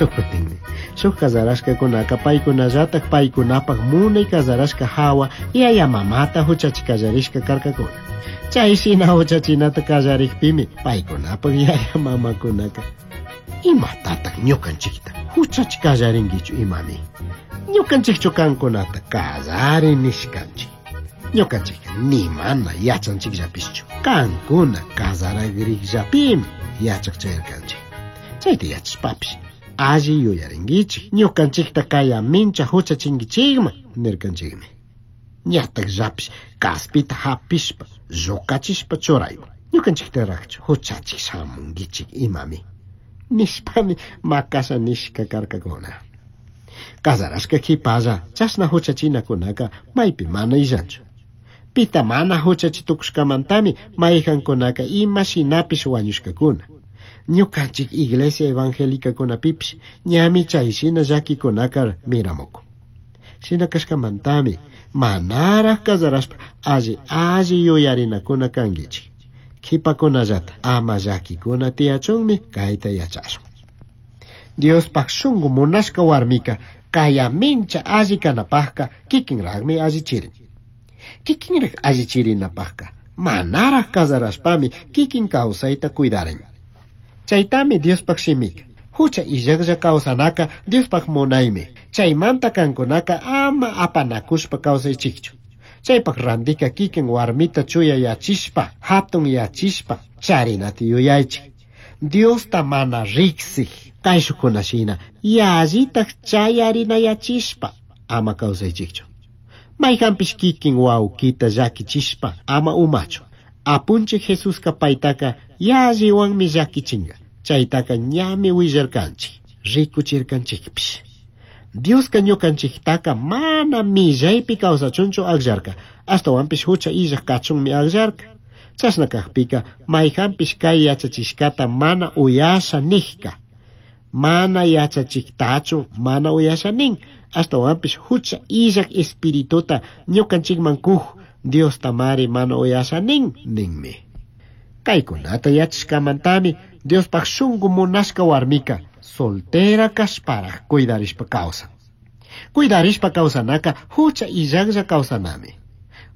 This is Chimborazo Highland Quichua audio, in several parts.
Shuk kutinmi shuk kazarashkakunaka paykunallatak paykunapak munay kazarashka hawa yaya mamata huchachi kallarishka karkakuna. Chay shina huchachinata kallarikpimi paykunapak yaya mamakunaka imatataq ñukanchikta huchachi kallarinkichu imami. Ñukanchikchu kankunata kallari nishkanchik. Ñukanchikka ni mana yachanchikllapishchu. Kankuna kazaragriqllapimi yachaq chayarkanchik. Chayta yachashpapish alli yuyarinkichik. Ñukanchikta kayamincha huchachinkichikman nirkanchikmi. Ñatakllapish kaspita hapishpa llukachishpa churayman. Ñukanchiktaraqchu huchachik shamunkichik imami. Nishpami makasha nishka karkakuna. Kazarashka qhipalla chashna huchachinakunaka maypi mana illanchu. Pita mana huchachi tukushkamantami mayqankunaka ima shinapish wañushkakuna. Ñukanchik iglesia evangélicakunapipish ñami chay shina llakikunaka miramukun. Shina kashkamantami manaraq kazarashpa alli alli yuyarinakuna kankichik. Qhipakunallata ama llakikuna tiyachunmi kayta yachashun. Diospaq shunqu munashka warmika kayamincha alli kanapaqqa kikinraqmi allichirin. Kikinraq allichirinapaqqa manaraq kazarashpami kikin kawsayta cuidarin. Chaytami Diospaq shimika. Hucha illaqlla kawsanaka Diospaq munaymi. Chaymanta kankunaka ama apanakushpa kawsaychikchu. Chaypaq randika kikin warmita chuya yachishpa, hatun yachishpa, charinata yuyaychik. Diosta mana riksik kayshukuna shina yallitaq chayarinayachishpa ama kawsaychikchu. Mayqanpish kikin wawkita llakichishpa ama umachu. Apunchik Jesuska paytaka yalliwanmi llakichinga. Chaytaka ñami willarkanchik, rikuchirkanchikpish. Dioska ñukanchiktaka mana millaypi kawsachunchu akllarka, ashtawanpish hucha illaq kachunmi akllarka. Chashna kaqpika mayqanpish kay yachachishkata mana uyasha nijka. Mana yachachiktachu mana uyasha nin, ashtawanpish hucha illaq espirituta ñukanchikman kuq Diostamari mana uyasha nin ninmi. Kaykunata yachashkamantami Diospaq shunqu munashka warmika soltera kashparaq cuidarishpa kawsan. Cuidarishpa kawsanaka hucha illaqlla kawsanami.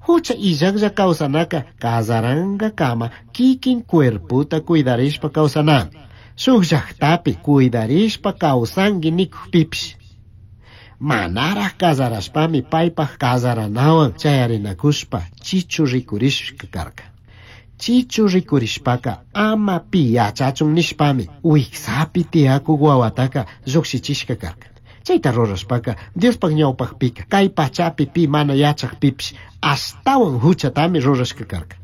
Hucha illaqlla kawsanaka kazarankakama kikin cuerputa cuidarishpa kawsanami. Shuk llaqtapi cuidarishpa kawsanki nikukpipish. Manaraq kazarashpami paypaq kazaranawan chayarinakushpa chichu rikurishka karka. Chichu rikurishpaka ama pi yachachun nishpami wiksapi tiyakuk wawataka llukshichishka karka. Chayta rurashpaka Diospaq ñawpaqpika kay pachapi pi mana yachaqpipish ashtawan huchatami rurashka karka.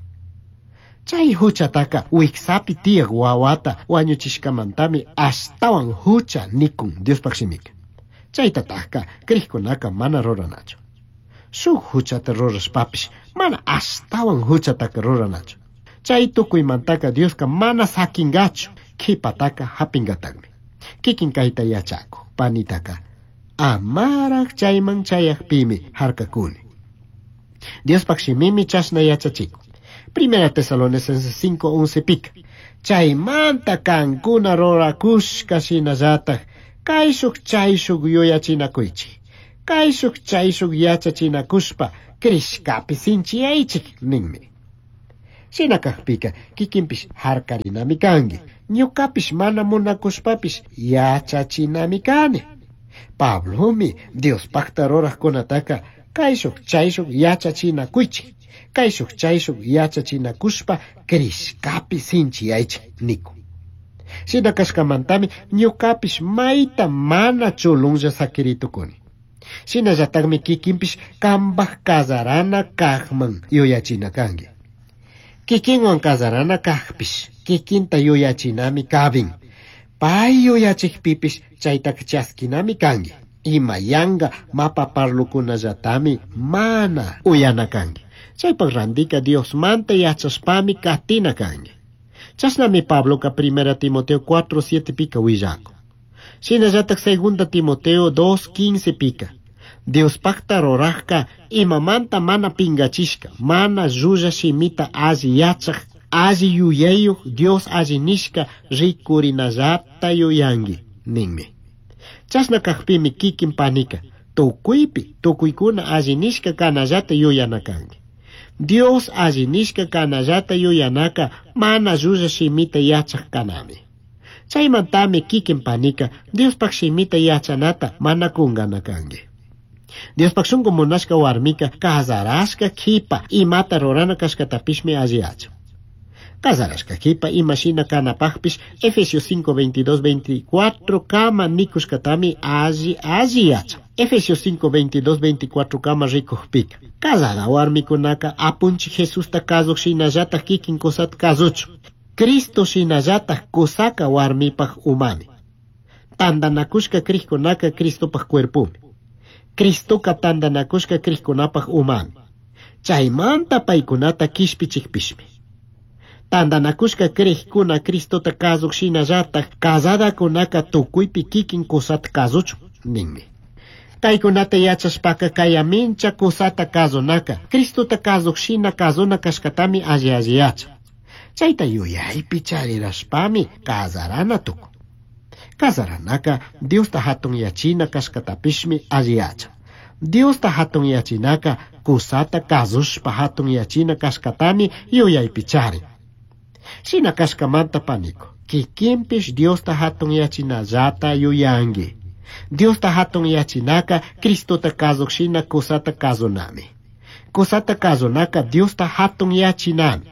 Chay huchataka wiksapi tiyaq wawata wañuchishkamantami ashtawan hucha nikun Diospaq shimika. Chaytataqka kriqkunaka mana ruranachu. Shuk huchata rurashpapish mana ashtawan huchataka ruranachu. Chay tukuymantaka Dioska mana sakingachu, qhipataka hapingataqmi. Kikin kayta yachakuq panitaka amaraq chayman chayaqpimi harkakuni. Diospaq shimimi chashna yachachikun. Primera Tesalonicenses 5:11 pika. Chaymanta kankuna rurakushka shinallataj kayshuk chayshuk yuyachinakuychik. Kayshuk chayshuk yachachinakushpa krishkapi sinchiyaychik ninmi. Shina kaqpika kikinpish harkarinami kanki. Ñukapish mana munakushpapish yachachinami kani. Pablomi Diospaqta ruraqkunataka kayshuk chayshuk yachachinakuychik. Kayshuk chayshuk yachachinakushpa krishkapi sinchiyaychik nikun. Shina kashkamantami ñukapish mayta mana chulunlla sakiritukuni. Shinallataqmi kikinpish kanpaq kazarana kaqman yuyachina kanki. Kikinwan kazarana kaqpish kikinta yuyachinami kabin. Pay yuyachikpipish chaytaka chaskinami kanki. Ima yanka mapa parlukunallatami mana uyana kanki. Chaypaq randika Diosmanta yachashpami katina kanki. Chashnami Pabloka Primera Timoteo 4:7 pika willakun. Shinallatak Segunda Timoteo 2:15 pika. Diospaqta ruraqka imamanta mana pingachishka, mana llulla shimita alli yachaq, alli yuyayuq Dios alli nishka rikurinallata yuyanki ninmi. Chashna kajpimi kikin panika tukuypi tukuykuna alli nishka kanallata yuyana kanki. Dios alli nishka kanallata yuyanaka mana llulla shimita yachaj kanami. Chaymantami kikin panika Diospaj shimita yachanata mana kungana kanki. Diospaj shunku munashka warmika kazarashka kipa imata rurana kashkatapishmi alli yachan. Kazarashka kipa imashina kanapajpish Efesios 5, 22, 24 kama nikushkatami alli alli yachan. Efesios 5, 22, 24 kama rikujpika. Kazada warmikunaka apunchik Jesusta kazuj shinallataj kikin kusata kazuchun. Cristo shinallataj kusaka warmipaj umami. Tandanakushka crijkunaka Cristopaj cuerpumi. Cristoka tandanakushka crijkunapaj umami. Chaymanta paykunata kishpichikpishmi. Tandanakushka crijkuna Cristota kazuj shinallataj kazadakunaka tukuypi kikin kusata kazuchun ninmi. Kaykunata yachashpaka kayamincha kusata kazunaka Cristota kazuj shina kazuna kashkatami alli alli yachan. Chayta yuyaypi charirashpami kazarana tukun. Kazaranaka Diosta hatunyachina kashkatapishmi alli yachan. Diosta hatunyachinaka kusata kazushpa hatunyachina kashkatami yuyaypi charin. Shina kashkamanta paniko, kikinpish Diosta hatunyachinallata yuyanki. Diosta hatunyachinaka Cristota kazuj shina kusata kazunami. Kusata kazunaka Diosta hatunyachinami.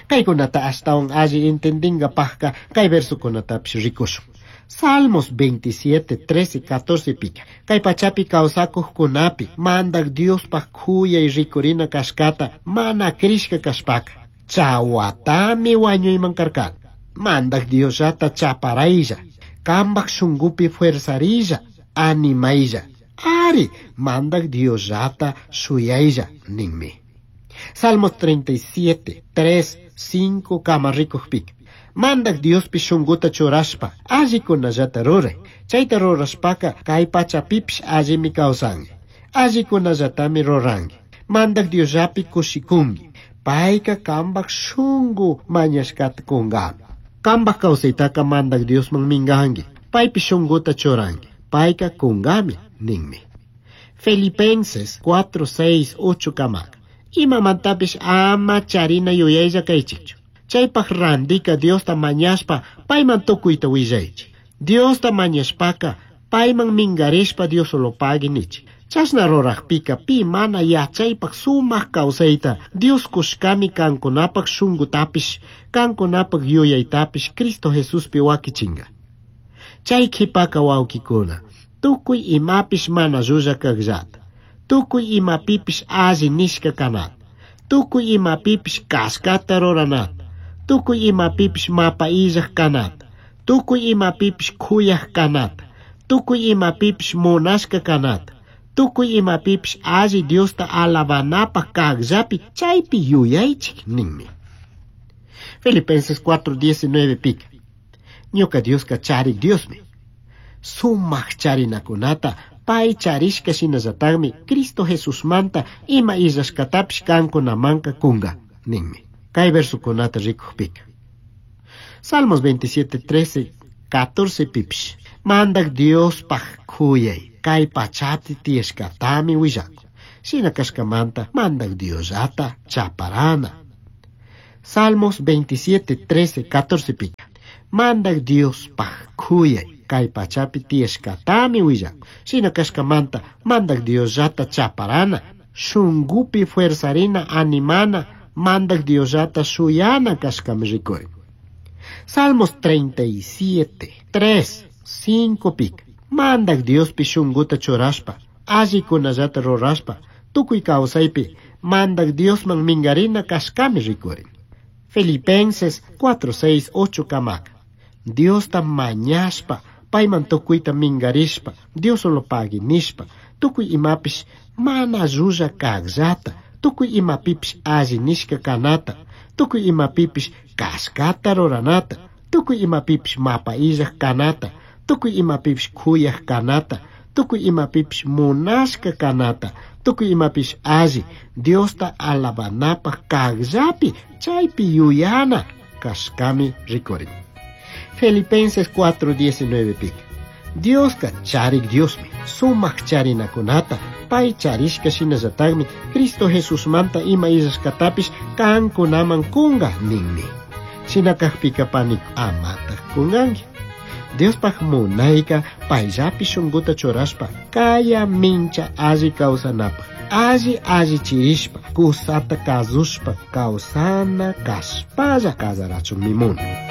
Kaykunata ashtawan alli entendingapajka kay versokunatapish rikushun. Salmos 27, 13, 14 pika. Kay pachapi kawsakujkunapi mandak Diospaj kuyay rikurina kashkata mana krishka kashpaka. Chawatami wañuyman karkani. Mandak Diosllata chaparaylla. Kambaj shunkupi fuerzarilla, animaylla. Ari, mandak Diosllata shuyaylla ninmi. Salmos 37, 3, 5 kama rikujpika. Mandak Diospi shunkuta churashpa allikunallata ruray. Chayta rurashpaka kay pachapipish allimi kawsanki. Allikunallatami ruranki. Mandak Diosllapi kushikunki. Payka kambaj shunku mañashkata kunkami. Kambaj kawsaytaka mandak Diosman minkanki. Paypi shunkuta churanki. Payka kunkami ninmi. Filipenses 4, 6, 8 kamaka. Imamantapish ama charina yuyaylla kaychikchu. Chaypaj randika Diosta mañashpa payman tukuyta willaychik. Diosta mañashpaka payman minkarishpa Diosolopagui nichik. Chashna rurajpika pi mana yachaypaj sumak kawsayta Dios kushkami kankunapaj shunkutapish kankunapaj yuyaytapish Cristo Jesuspi wakichinga. Chay qhipaka wawkikuna tukuy imapish mana llulla kajllata. Tukuy imapipish alli nishka kanata. Tukuy imapipish kashkata ruranata. Tukuy imapipish mapa illaj kanata. Tukuy imapipish kuyaj kanata. Tukuy imapipish munashka kanata. Tukuy imapipish alli Diosta alabanapaj kajllapi chaypi yuyaychik ninmi. Filipenses 4:19 pika. Ñuka Dioska charik Diosmi. Sumak charinakunata pay charishka shinallatakmi Cristo Jesusmanta ima illashkatapish kankunamanka kunga ninmi. Kay versokunata rikujpika. Salmos 27, 13, 14 pipish. Mandak Diospaj kuyay kay pachapi tiyashkatami willakun. Shina kashkamanta mandak Diosllata chaparana. Salmos 27, 13, 14 pika. Mandak Diospaj kuyay kay pachapi tiyashkatami willakun. Shina kashkamanta mandak Diosllata chaparana. Shunkupi fuerzarina animana mandak Diosllata shuyana kashkami rikurin. Salmos 37, 3, 5 pika. Mandak Diospi shunkuta churashpa, allikunallata rurashpa, tukuy kawsaypi mandak Diosman minkarina kashkami rikurin. Filipenses 4, 6, 8 kamaka. Diosta mañashpa, payman tukuyta minkarishpa, Diosolopagui nishpa, tukuy imapish mana llulla kajllata, tukuy imapipish alli nishka kanata, tukuy imapipish kashkata ruranata, tukuy imapipish mapa illaj kanata, tukuy imapipish kuyaj kanata, tukuy imapipish munashka kanata, tukuy imapish alli Diosta alabanapaj kajllapi chaypi yuyana kashkami rikurin. Filipenses 4:19 pika. Dioska charik Diosmi, sumak charinakunata, pay charishka shinallatakmi Cristo Jesusmanta ima illashkatapish kankunaman kunga ninmi. Shina kakpika pani amatak kunganki. Diospaj munayka payllapi shunkuta churashpa kaya mincha alli kawsanapaj alli allichirishpa kusata kazushpa kawsana kashpalla kasarachunmi munan.